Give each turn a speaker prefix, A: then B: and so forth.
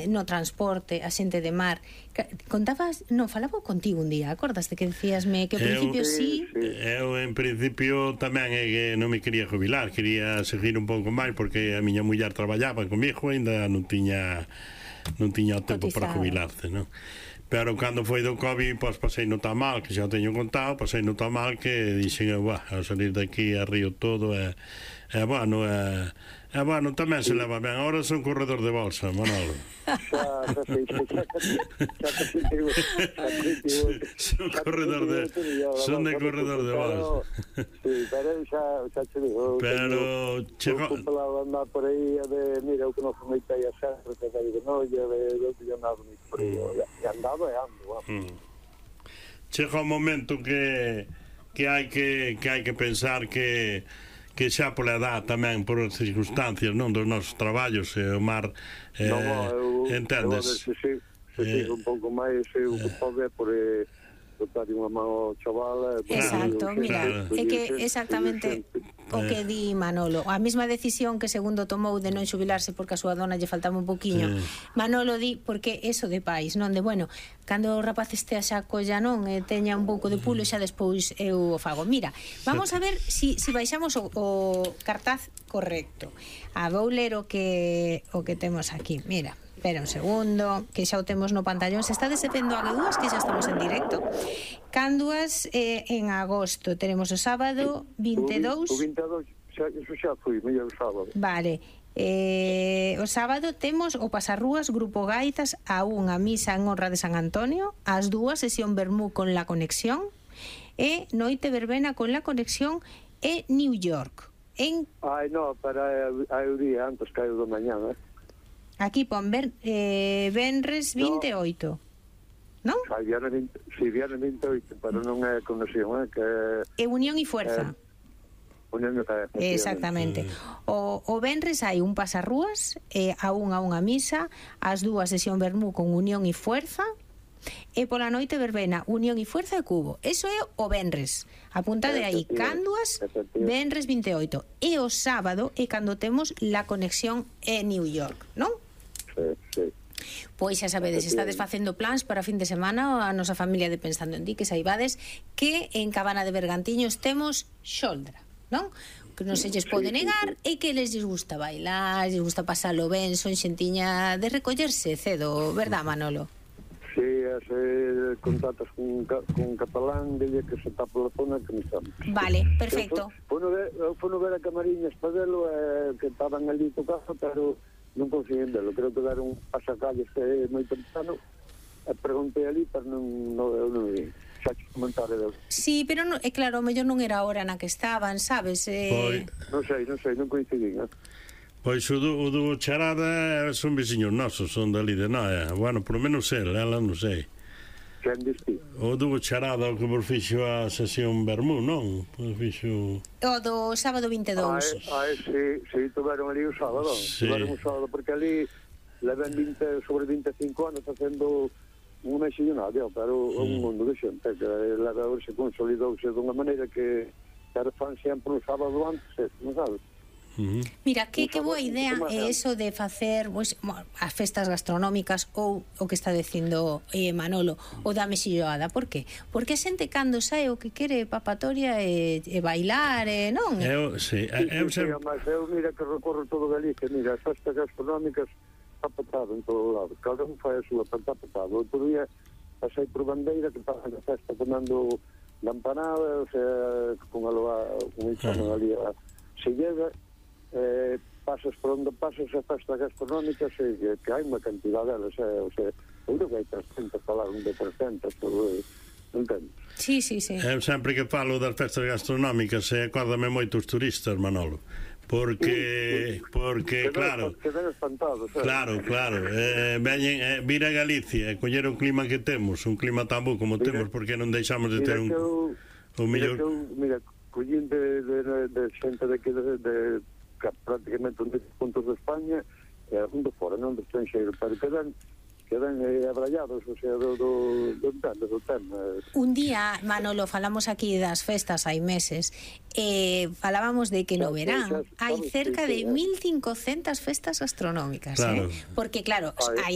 A: no transporte, a xente de mar. Contabas, non, falaba contigo un día, acordaste que decíasme que ao principio sí.
B: Eu en principio tamén non me quería jubilar, quería seguir un pouco máis porque a miña muller traballaba comigo e ainda non tiña o tempo para jubilarse, non? Pero cando foi do COVID, pois pasei no tan mal, que xa o teño contado, pasei no tan mal que dixen, ao salir daqui a río todo bueno, tamén se leva ben. Ahora son corredor de bolsa, Manolo. Son de corredor de bolsa.
C: Sí, pero xa te digo.
B: Pero chegou
C: andar por aí mira, o que non comentei a sempre, que de noia, de andar por aí, e andaba e ando.
B: Chega un momento que hai que pensar que xa pola edad tamén, por as circunstancias, non, dos nosos traballos, o mar, entendes?
C: Se sigo un pouco máis, o que pode por botar unha mão ao chaval.
A: Exacto, mira, é que exactamente o que di Manolo, a mesma decisión que segundo tomou de non xubilarse porque a súa dona lle faltaba un poquinho, Manolo di, porque eso de pais, non de, bueno, cando o rapaz estea xa colla, non, teña un pouco de pulo, xa despois eu o fago. Mira, vamos a ver si baixamos o cartaz correcto. Vou ler o que temos aquí, mira. Espera un segundo, que xa o temos no pantallón. Se está descendo a G2, que xa estamos en directo. Cánduas en agosto. Tenemos o sábado 22.
C: O 22, eso xa foi, mellor sábado.
A: Vale. O sábado temos o Pasarrúas, Grupo Gaitas, a unha misa en honra de San Antonio, ás 2 sesión Bermú con La Conexión, e noite verbena con La Conexión e New York.
C: Ai, non, para o día antes que o do mañana,
A: Aquí pon Venres 28, non?
C: Si, viernes 28, pero non é conexión, que
A: é Unión e Fuerza.
C: Unión e Fuerza.
A: Exactamente. O Venres hai un Pasarrúas, a unha misa, ás 2 sesión Bermú con Unión e Fuerza, e pola noite verbena Unión e Fuerza e Cubo. Eso é o Venres. Apuntade aí, Cánduas, Venres 28. E o sábado é cando temos La Conexión e New York, non?
C: Sí.
A: Pois xa sabedes, estades facendo plans para fin de semana, a nosa familia de Pensando en Ti, que saibades que en Cabana de Bergantiños temos xoldra, non? Que non se lles pode negar e que les gusta bailar, les gusta pasalo ben, son xentiña de recollerse cedo, verdad, Manolo?
C: Sí, contactos con catalán, dille que se tapa la zona que me estamos.
A: Vale, perfecto.
C: Fono ver a Camariñas para velo, que estaban ali tocando, pero non consiguen velo. Creo que deron pasacalles moi temprano, e preguntei ali, pero non vi. Xa te comentaré del.
A: Sí, pero claro, mellor non era a hora na que estaban, sabes?
C: Non sei, non coincidín,
B: Pois o do Charada son veciños nosos, son dali de Noia. Bueno, por lo menos ela non sei.
C: Quen diste?
B: O do Charada, o que por fixo a sesión Bermú, non? Por fixo...
A: O do sábado 22.
C: Sí, tuveron ali o sábado. Tuveron o sábado, porque ali leven sobre 25 anos facendo unha xillonada, pero un mundo de xente que se consolidouse dunha maneira que era fan sempre o sábado antes, non sabes?
A: Mira, que boa idea é eso de facer as festas gastronómicas ou o que está dicindo Manolo, o da mexilloada. Por qué? Porque a xente cando sae o que quere papatoria e bailar, non?
C: Eu mira que recorro todo Galicia, mira, as festas gastronómicas está petado en todo lado, cada un fai a súa, está petado. Outro día pasei por Bandeira que pasan a festa tomando lampanada, o sea, con ali a Silleda, pasas por onde pasas a festas gastronómicas que hai unha cantidad delas, o sea, eu creo que hai 300, falaron de 300, entendo?
A: Sí.
B: Eu sempre que falo das festas gastronómicas acórdame moitos turistas, Manolo, porque claro,
C: quedan espantados,
B: claro, veñen vir a Galicia e coller o clima que temos, un clima tan bo como temos, porque non deixamos de ter o mellor.
C: Mira, collín de xente daqui de prácticamente un 10 puntos de España e un de fora, non de estranxeiro, pero quedan abrallados, o sea, do tema.
A: Un día, Manolo, falamos aquí das festas hai meses, falábamos de que no verán hai cerca de 1500 festas gastronómicas, porque claro, hai